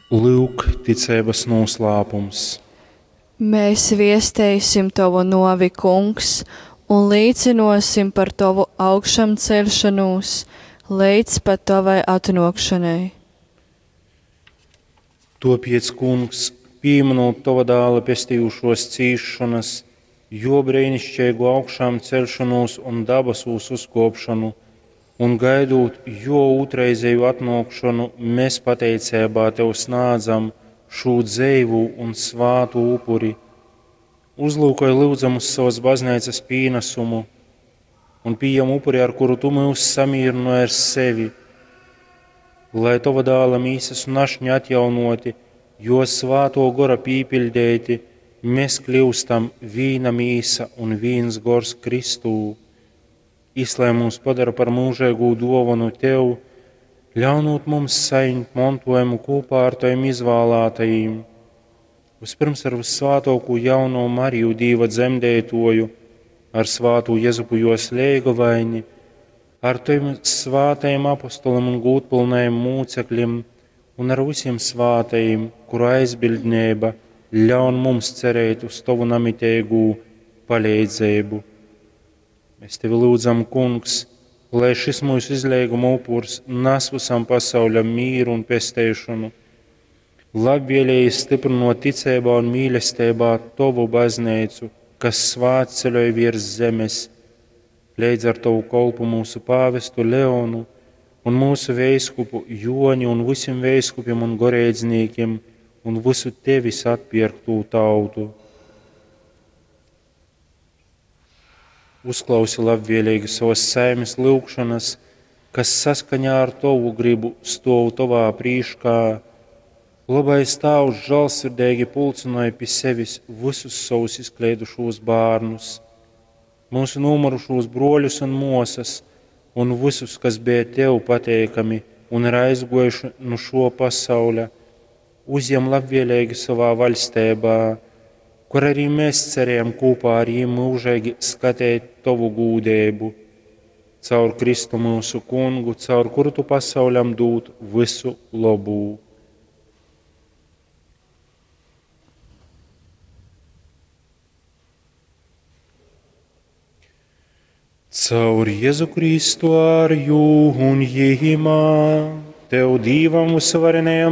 Lyuk, ticeibas noslēpums. Mēs viesteisim tovu novi, kungs, un līcinosim par tovu augšamceļšanos līdz pat tavai atnākšanai. Topiec, kungs, pieminot tava dēla pestījušos cīšanas, jo brīnišķīgu augšām celšanos un dabasūs uzkopšanu, un gaidot jo otrreizēju atnākšanu, mēs pateicībā tev snādzam šo dzeivu un svātu upuri. Uzlūkoj lūdzam uz savas baznīcas pienesumu un pieņem upuri, ar kuru tu mūs samierināji ar sevi, lai tava dēla mīsas un ašņi atjaunoti, jo svāto gora pīpildēti, mēs kļūstam vīna mīsa un vīns gors Kristū. Izlai mūs padara par mūžīgu dovanu tev, ļaunot mums saņemt mantojumu kopā ar taviem izvēlētajiem. Vispirms ar vissvātāko jauno Mariju Dīva dzemdētoju, ar svātu Jezupu jos leigavaini, ar taviem svātajiem apostoliem un gūtpilnajiem mūcekļiem un ar visiem svātajiem, kuru aizbildnība ļaun mums cerēt uz tavu namitēgu palīdzību. Mēs tevi lūdzam, kungs, lai šis mūsu izlīguma upurs nes visam pasauļam mīru un pesteišanu, labvēlīgi stiprinot ticībā un mīlestībā tavu baznīcu, kas svētceļoj virs zemes, līdz ar tavu kolpu mūsu pāvestu Leonu un mūsu veiskupu Joni un visiem veiskupiem un goreidznīkiem un visu tevis atpirktu tautu. Uzklausi labvēlīgi savas saimes lūgšanas, kas saskaņā ar tavu gribu stov tavā prīškā. Labais Tēvs žēlsirdīgi pulcināja pie sevis visus savus izkleidušos bērnus, mūsu nomurušos broļus un mosas, un visus, kas bija tev pateikami un ir aizgojuši no šo pasauļa, uzņem labvēlīgi savā vaļstībā, kur arī mēs cerējam kopā ar viņiem mūžīgi skatīt tavu gūdību. Caur Kristu mūsu kungu, caur kuru tu pasauļam dūt visu labu. Caur Jēzu Kristu ar jū un Jīmā, Tev Dīvam visvarenajam